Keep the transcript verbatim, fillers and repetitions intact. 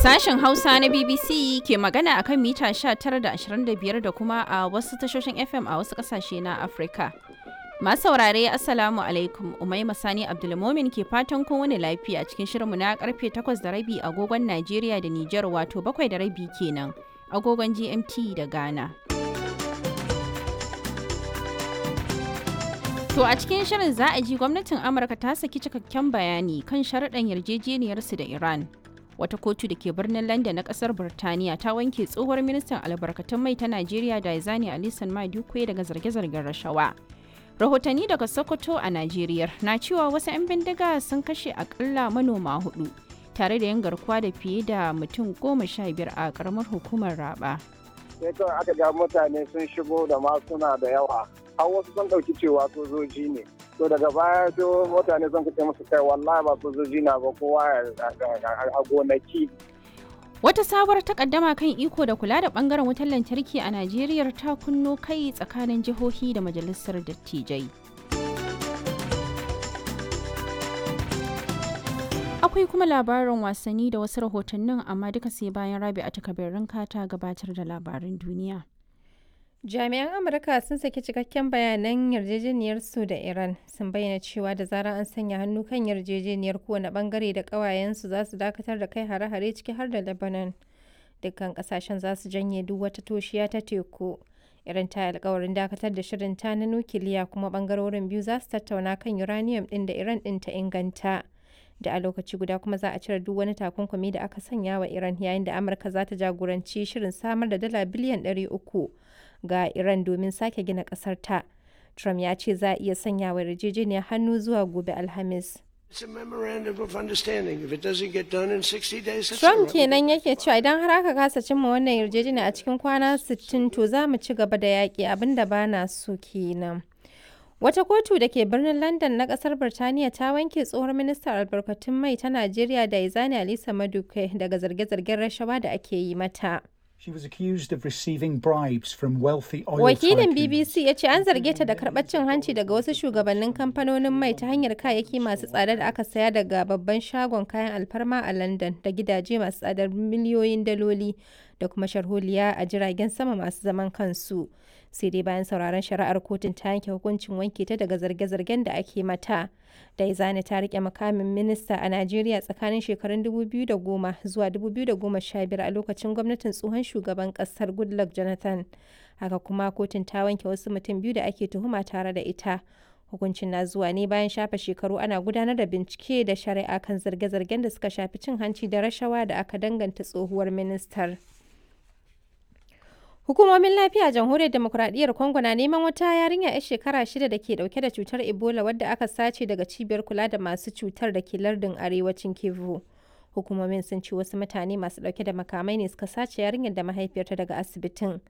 Sashen Hausa na B B C ke magana akan mita sha tara da ashirin da biyar da kuma a wasu tashoshin F M a wasu kasashe na Afirka. Masu saurare, Assalamu alaikum. Umaima Sani Abdulmomin ke fatan kowane lafiya cikin shirinmu na karfe takwas da rabi agogon Najeriya da Nijar, wato bakwai da rabi kenan agogon G M T da Ghana. To, a cikin shirin za a ji gwamnatin Amurka ta saki cikakken bayani kan sharaɗan yarjejeniyarsu da Iran. Wata kotu da ke birnin London na kasar Birtaniya ta wanke tsohuwar ministan albarkatun mai ta Najeriya Diezani Alison Maduke daga zarge-zargen rashawa. Rahotanni daga Sokoto a Najeriya na cewa wasu 'yan bindiga sun kashe akalla manoma hudu tare da yin garkuwa da fiye da mutum goma sha biyar a karamar hukumar Raba. Sai kawai aka ga mutane sun shigo da masuna da yawa, har wasu sun ɗauki cewa sojoji ne. To, daga baya sai mutane sun kace musu, "Kai, wallahi ba sojoji na ba, kowa a gonaki." Wata sabuwar takaddama kan iko da kula da bangaren wutar lantarki a Najeriya ta kunno kai tsakanin jihohi da majalisar dattijai. Akwai kuma labarin wasanni da wasu rahotannin, amma duka sai bayan Rabi a takabirin ta gabatar da labarin duniya. Jami'an Amurka sun saki cikakken bayanan yarjejeniyarsu da Iran, sun bayyana cewa da zarar an sanya hannu kan yarjejeniyar, kowane bangare da ƙawayensu za su dakatar da kai hare-hare, ciki har da Lebanon. Dukkan ƙasashen za su janye duk wata toshiya ta teku. Iran ta yi alkawarin dakatar da shirin ta na nukiliya, kuma bangarorin biyu za su tattauna kan uranium ɗin da Iran ɗin ta inganta. Da a lokaci guda kuma za a cire duk wani takunkumi da aka sanya wa Iran, yayin da Amurka za ta jagoranci shirin samar da dala biliyan ɗari uku ga Iran domin sake gina ƙasar ta. Trump ya ce za a iya sanya wa yarjejeniyar hannu zuwa gobe Alhamis. Trump kenan yake cewa, "Idan har aka kasa cimma wannan yarjejeniya a cikin kwana sittin, to za mu ci gaba da yaƙi, abin da ba na so kenan." Wata kotu da ke birnin London na kasar Birtaniya ta wanke tsohon ministan albarkatun mai ta Najeriya Diezani Alisa Maduke daga zarge-zargen rashawa da ake yi mata. She was accused of receiving bribes from wealthy oil Wakilin tycoons. B B C ya ce an zarge ta da karɓar cin hanci daga wasu shugabannin kamfanonin mai ta hanyar kayayyaki masu tsada da aka saya daga babban shagon kayan alfarma a London da gidaje masu tsadar miliyoyin daloli da kuma sharholiya a jiragen sama masu zaman kansu. Sai dai bayan sauraron shari'ar, kotun ta yanke hukuncin wanke ta daga zarge-zargen da ake mata. Daizani ta rike mukamin minista a Najeriya tsakanin shekarun dubu biyu da goma zuwa dubu biyu da goma sha biyar a lokacin gwamnatin tsohon shugaban kasar Goodluck Jonathan. Haka kuma kotun ta wanke wasu mutum biyu da ake tuhuma tare da ita. Hukuncin na zuwa ne bayan shafe shekaru ana gudanar da bincike da shari'a kan zarge-zargen da suka shafi cin hanci da rashawa da aka danganta tsohuwar ministar. Hukumomin lafiya a Jamhuriyar Demokuraɗiyyar Congo na neman wata yarinya 'yar shekara shida da ke dauke da cutar Ebola wadda aka sace daga cibiyar kula da masu cutar da ke lardin arewacin Kivu. Hukumomin sun ce wasu mutane masu dauke da makamai ne suka sace yarinyar da mahaifiyarta daga asibitin.